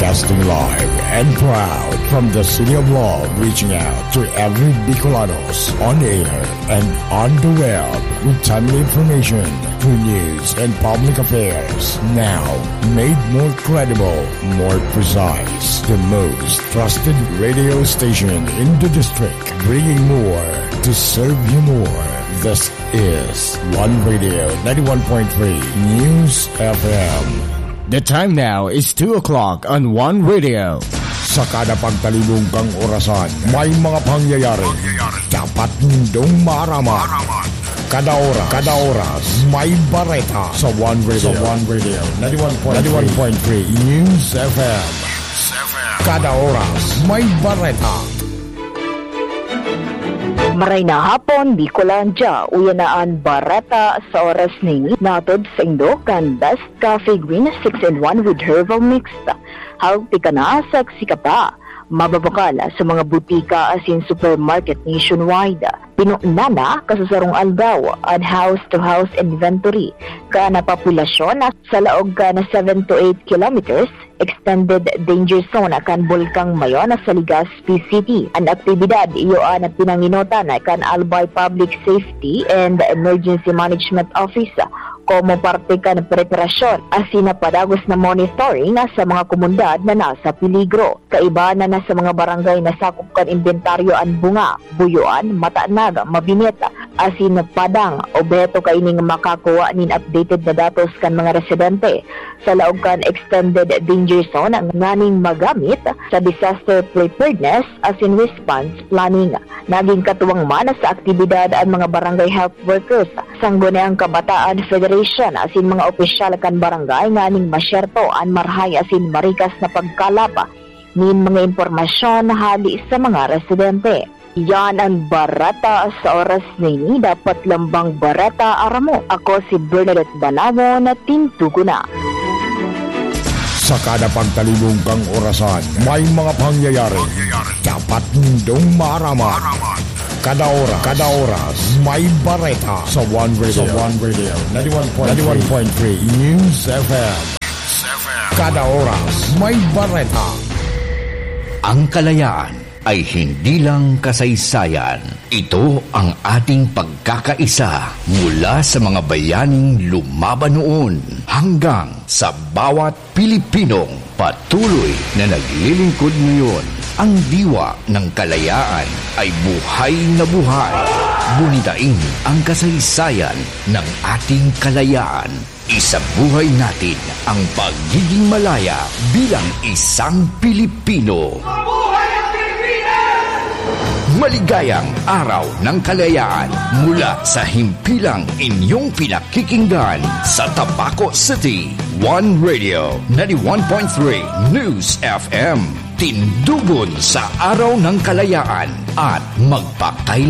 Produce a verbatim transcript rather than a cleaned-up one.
Broadcasting live and proud from the City of Love, reaching out to every Bicolanos on air and on the web with timely information, true news, and public affairs. Now, made more credible, more precise, the most trusted radio station in the district, bringing more to serve you more. This is One Radio ninety-one point three News F M. The time now is two o'clock on One Radio. Sa kada pagtalibong kang orasan, may mga pangyayari dapat nindong maaraman. Kada oras, kada oras, may bareta sa One Radio. Sa One Radio, ninety-one point three News F M. Kada oras, may bareta. Maray na hapon, Bicolandia. Uya na an bareta sa oras na ini, hatod saindo kan Best Coffee Green six-in-one with Herbal Mix. Healthy ka na, sexy ka pa. Mababakal sa mga butika asin supermarket nationwide. Pinuna na kan sarong aldaw an house-to-house inventory kan populasyon sa laog kan seven to eight kilometers extended danger zone kan Bulkang Mayon sa Legazpi City. An aktibidad iyo an pinangenotan kan Albay Public Safety and Emergency Management Office komo parte kan preparasyon asin padagos na monitoring sa mga komunidad na nasa peligro. Kaiba na sa mga barangay na sakop kan imbentaryo an bunga, buyoan, matanag, mabinit, asin padang. Obheto kaining makakuha nin updated na datos kan mga residente sa laog kan extended danger zone nganing magamit sa disaster preparedness asin response planning. Naging katuwang man sa aktibidad an mga barangay health workers, Sangguniang Kabataan Federation asin mga opisyal kan barangay nganing masyerto an marahay asin marikas na pagkalap nin mga impormasyon hale sa mga residente. Yan an bareta sa oras na ini. Dapat lambang bareta aram mo. Ako si Bernadette Banawon na tindugo na. Sa kada pagtalibong kang orasan, may mga pangyayari dapat nindong maaraman. Kada oras, kada oras, may bareta sa One Radio. Sa One Radio, ninety-one point three News F M. Kada oras, may bareta. Ang kalayaan ay hindi lang kasaysayan. Ito ang ating pagkakaisa mula sa mga bayaning lumaban noon hanggang sa bawat Pilipinong patuloy na naglilingkod ngayon. Ang diwa ng kalayaan ay buhay na buhay. Gunitain ang kasaysayan ng ating kalayaan. Isabuhay natin ang pagiging malaya bilang isang Pilipino. Mabuhay ang Pilipinas! Maligayang Araw ng Kalayaan mula sa himpilang inyong pinakikinggan sa Tabaco City. One Radio, ninety-one point three News F M. Tindugon sa Araw ng Kalayaan at magpakailan